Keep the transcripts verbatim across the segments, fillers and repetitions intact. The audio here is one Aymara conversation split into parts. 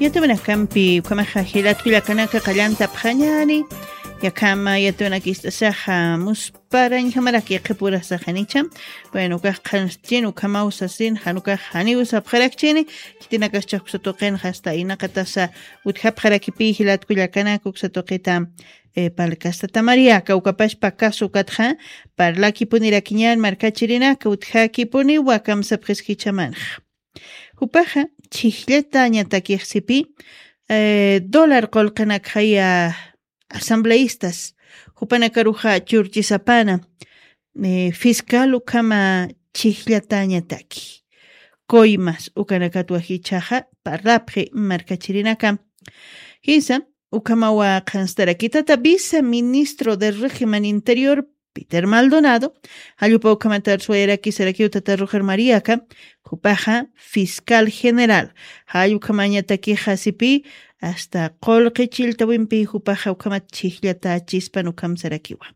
Yatawinakampi ukhamaxa jilat kullakanaka qallantapxañani, yakhama yatawinakist'asaxa musparañjamaraki qhipurasaxanicha. Bueno, ukax qhanst'chin ukhamaw sasin, jan ukax janiw sapxarakchini, khitinakaschix uksa tuqinxa hasta inaqatasa utjapxarakipi jilat kullakanaka uksa tuqita, eh, palkasta. Tata Mariaka, ukapashpa kasu ukatxa parlakipunirakiñan markachirinaka, utjakipuniwa kamsapxiskichamanxa. Jupaxa chhijllatañatakixa sipi, eh, dólar qullqinakxaya asambleístas, jupanakaruxa churchisapana, eh, fiscal ukhama chhijllatañataki. Coimas ukanakatwa jichhaxa parlapxi markachirinaka. Jisa, ukhamawa qhanstarakitata viceministro del régimen interior, Peter Maldonado, jallp'u ukhamata arswayaraki sarakiw tata Roger Mariaka, jupaxa fiscal general, jall ukhamañatakixa sipi, hasta qullqi chilltawimpi jupaxa ukhamat chhijllatachispan ukham sarakiwa.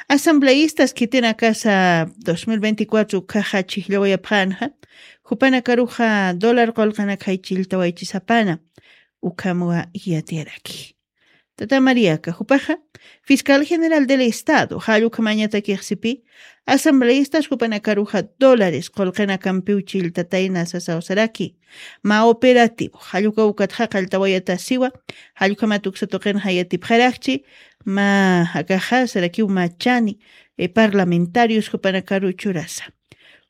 Asambleístas khitinakasa dos mil veinticuatro ukhaxa chhijllawayapxänxa, jupanakaruxa dólar qullqinakxay chilltawaychisapana, ukhamwa yatiyaraki. Tata Mariaka, jupaxa fiscal general del Estado, jall ukhamañatakix sipi, asambleístas jupanakaruxa dólares qullqinakampiw chilltatayna sasaw saraki. Mä operativo, jall uka ukatxa qalltawayatasiwa, jall ukhamat uksa tuqinxa yatipxarakchi, mä akaxa sarakiw mä chani, eh, parlamentarios jupanakaru churasa.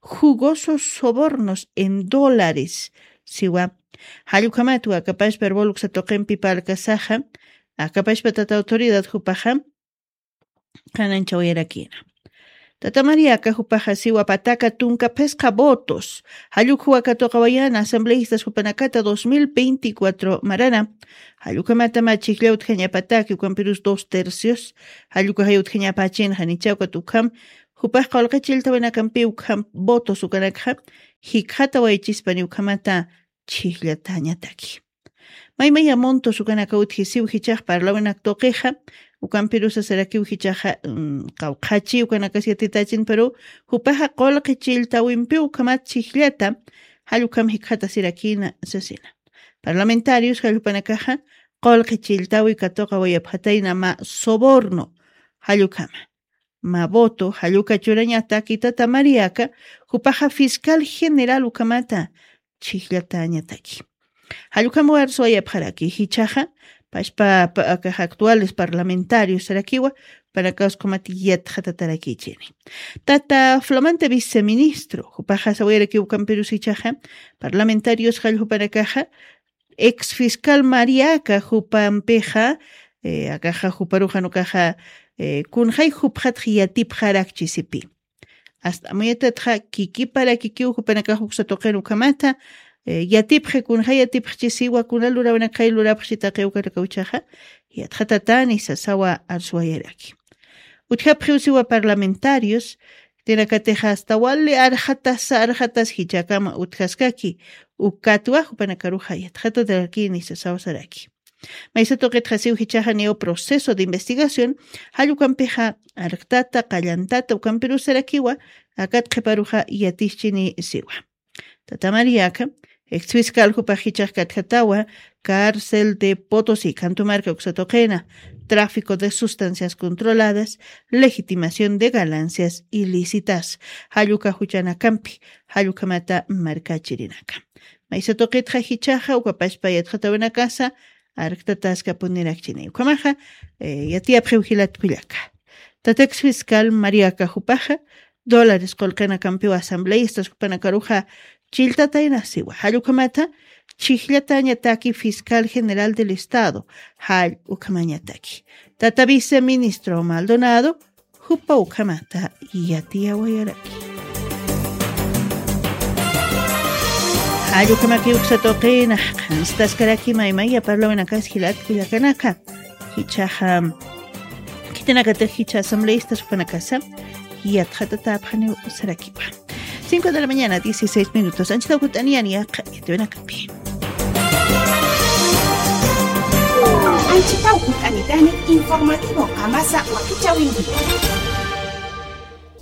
Jugosos sobornos en dólares, siwa. Jall ukhamatwa akapashpa arbol uksa tuqimpi palkasaxa, akapashpa tata autoridad jupaxa, qhananchawayarakina. Tata Mariaka jupaxa siwa pataka tunka phisqa votos, jall ukhuwa katuqawayana asambleístas jupanakata dos mil veinticuatro marana, jall ukhamatama chhijllaw utjañapataki ukampirus dos tercios, jall ukaxay utjañapachinxa nichha ukat ukham, jupax qullqi chilltawinakampi ukham votos ukanakxa, jikxatawaychispani ukhamata chhijllatañataki. Maymaya montos ukanaka utjisiw jichhax parlawinak tuqixa, ukampirusa sarakiw jichhaxa, mm, qawqhachi ukanakas yatitachin, pero jupaxa qullqi chilltawimpiw ukhamat chhijllata, jall ukham jikxatasirakina sasina. Parlamentarios jall jupanakaxa qullqi chilltawi katuqawayapxatayna mä soborno, jall ukhama. Mä voto, jall uka churañataki tata Mariaka, jupaxa fiscal general ukhamata chhijllatañataki. Jall ukham arswayapxaraki jichhaxa, pashpa pa-, akax actuales parlamentarios sarakiwa, panakas ukhamat yatxatatarakichini. Tata flamante viceministro, jupaxa sawayarakiw ukampirus jichhaxa, parlamentarios jall jupanakaxa, ex fiscal Mariaka jupampixa, eh, akaxa juparuxa jan ukaxa, eh, kunxay jupxatx yatipxarakchi sipi. Hasta amuyatatxa kikiparakikiw jupanakax uksa tuqin ukhamata, eh, yatipxi kunxay yatipxchi siwa kuna lurawinakxay lurapxchi taqi ukanaka jichhaxa, yatxatatani sasawa arswayaraki. Utjapxiw siwa parlamentarios, khitinakatix hasta wali arxatasa arxatas jichhakama utjaskaki, ukatwa jupanakaruxa yatxatatarakini sasaw saraki. Maysa tuqitxa siw jichhaxa niw proceso de investigación, jall ukampixa arktata, qallantata, ukampirus sarakiwa, akat qhiparuxa yatischini siwa. Tata Mariaka, ex fiscal jupax jichhax katjatawa, cárcel de Potosí, Cantomarca uksa tuqina, tráfico de sustancias controladas, legitimación de ganancias ilícitas, jall uka juchanakampi, jall ukhamata markachirinaka. Maysa tuqitxa jichhaxa, ukapashpa yatxatawinakasa, arktataskapunirakchini. Ukhamaxa, eh, yatiyapxiw jilat kullaka. Tata ex fiscal Mariaka jupaxa, dólares qullqinakampiw asambleístas jupanakaruxa chilltatayna siwa. Jall ukhamata, chhijllatañataki fiscal general del Estado, jall ukhamañataki. Tata viceministro Maldonado, jupa ukhamata yatiyawayaraki. Jall ukhamaki uksa tuqina, qhanstaskaraki maymaya parlawinakas jilat kullakanaka. Jichhaxa, khitinakatix jichha asambleístas jupanakasa, yatxatatäpxaniw sarakiwa. Cinco de la mañana, dieciséis minutos. Anchitaw jut'aniyani yaqha yatiyawinakampi. Anchitaw jut'anitani informativo qamasa wakichäwinki.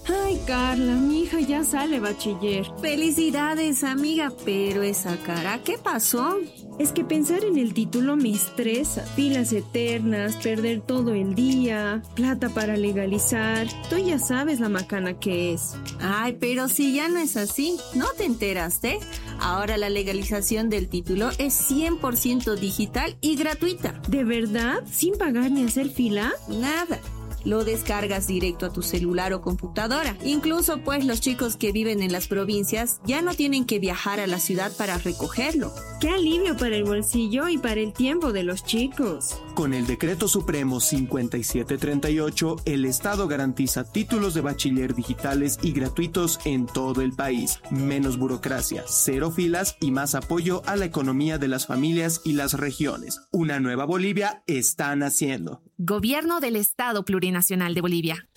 Ay, Carla, mi hija ya sale bachiller. Felicidades, amiga, pero esa cara, ¿qué pasó? Es que pensar en el título me estresa. Filas eternas, perder todo el día, plata para legalizar. Tú ya sabes la macana que es. Ay, pero si ya no es así, ¿no te enteraste? Ahora la legalización del título es cien por ciento digital y gratuita. ¿De verdad? ¿Sin pagar ni hacer fila? Nada. Lo descargas directo a tu celular o computadora. Incluso, pues, los chicos que viven en las provincias ya no tienen que viajar a la ciudad para recogerlo. ¡Qué alivio para el bolsillo y para el tiempo de los chicos! Con el Decreto Supremo cincuenta y siete treinta y ocho, el Estado garantiza títulos de bachiller digitales y gratuitos en todo el país. Menos burocracia, cero filas y más apoyo a la economía de las familias y las regiones. Una nueva Bolivia está naciendo. Gobierno del Estado Plurinacional de Bolivia.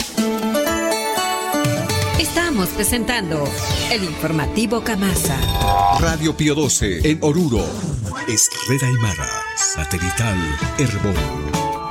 Estamos presentando el informativo Camasa. Radio Pío doce en Oruro. Es Red Aymara, satelital Erbol.